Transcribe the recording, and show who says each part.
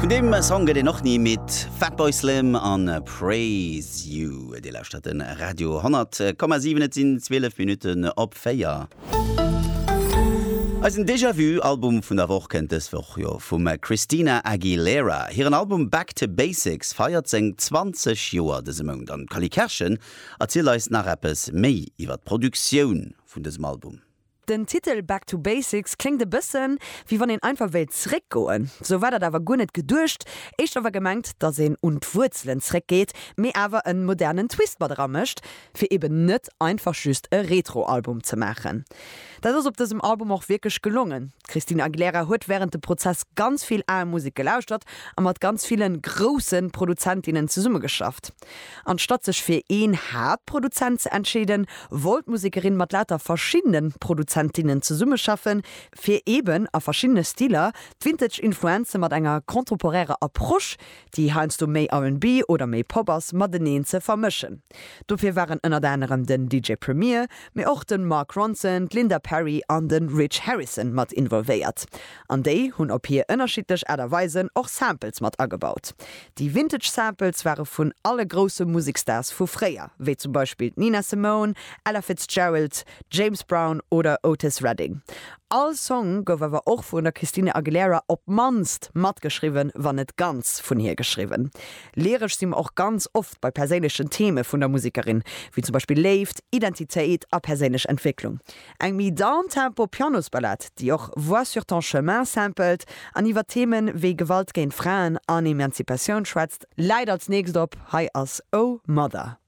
Speaker 1: Vun deem Song gëtt een och ni midd. Fatboy Slim an Praise You. Dir lauschtert de Radio 100,7. Et sinn 12 Minutten op 4. Eisen Déjà Vu Album vun der Woch kënnt dës Woch jo vum Christina Aguilera. Hiren Album Back to Basics feiert seng 20 Joer dëse Mount an d'Cally Kerschen erzielt eis nach eppes méi iwwer d'Produktioun vun dësem Album.
Speaker 2: Den Titel Back to Basics kléngt e bëssen, wéi wann een einfach wéilt zréckgoen. Sou war dat awer guer net geduecht. Éischter war gemengt, dass een un d'Wuerzelen zréckgeet, mee awer en modernen Twist mat eramécht, fir eben net einfach just e Retro-Album ze maachen. Dat ass op dësem Album och wierklech gelongen. D'Christina Aguilera huet wärend dem Prozess ganz vill al Musek gelauschtert a mat ganz ville grousse Produzentinnen zesummegeschafft. Anstatt sech fir een Haaptproduzent ze entscheeden, wollt d'Musekerin mat lauter verschiddene Produzentinnen zesummeschaffen, fir eben a verschiddene Stiler d'Vintage Influenze mat enger contemporärer Approche, déi heiansdo méi R&B oder méi Pop ass, mateneen ze vermëschen. Dofir waren ënnert anerem den DJ Premier, mee och de Mark Ronson, d'Linda Perry an de Rich Harrison mat involvéiert. An déi hunn op hir ënnerschiddlech Aart a Weisen och Samples mat agebaut. Déi Vintage Samples ware vun alle grousse Musekstars vu fréier, wéi zum Beispill d'Nina Simone, Ella Fitzgerald, James Brown oder Otis Redding. All Song gouf awer och vun der Christina Aguilera op d'mannst matgeschriwwen, wann net ganz vun hir geschriwwen. Lyresch si mer och ganz oft bei perséinlechen Theme vun der Musekerin, wéi zum Beispill Léift, Identitéit a perséinlech Entwécklung. Eng méi downtempo Pianosballad, déi och Vois sur ton chemin sampelt an iwwer Themen wéi Gewalt géint Fraen an Emanzipatioun schwätzt, läit als nächst op. Hei ass Oh Mother.